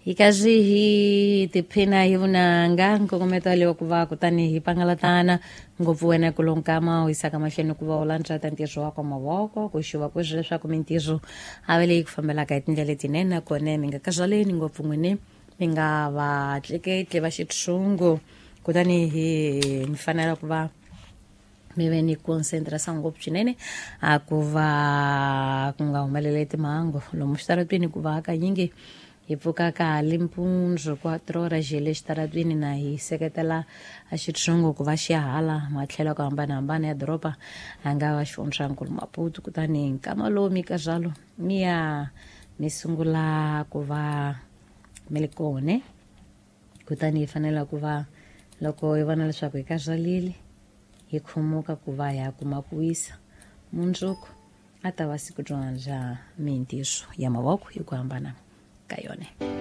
Hi karhi hi tiphina hi vunanga nkongometo waleyo ku va kutani hi pangalatana ngopfu wena kulonkama u yisaka mahlweni ku va u landzata ntirho wa kwa mavoko ku xuva ku ri leswaku mintirho a va leyi ku fambelaka hi tindlela letinene, nakona mi nga kazaleni ngopfu n'wini, mi nga va tleketli va xitshungu, kutani hi mi fanela ku va mi ve ni concentração ngopfu swinene a ku va ku nga humeleli timhangu lomu xitaratwini, ku va hakanyingi hi pfuka ka ha li mpundzu 4 horas hi le xitaratwini na hi seketela a xitshungu ku va xi ya hala matlhelo ku hambanahambana ya doroba, a nga va xifundzankulu Maputo. Kutani nkama lowu mi ka zvalo mi ya mi sungula ku va mi li kone, kutani hi fanela ku va loko hi vona leswaku hi ka zalile hi khumuka ku va hi ya kuma ku wisa. Mundzuku a ta va siku bya mintirho ya mavoko hi ku hambana ka yona.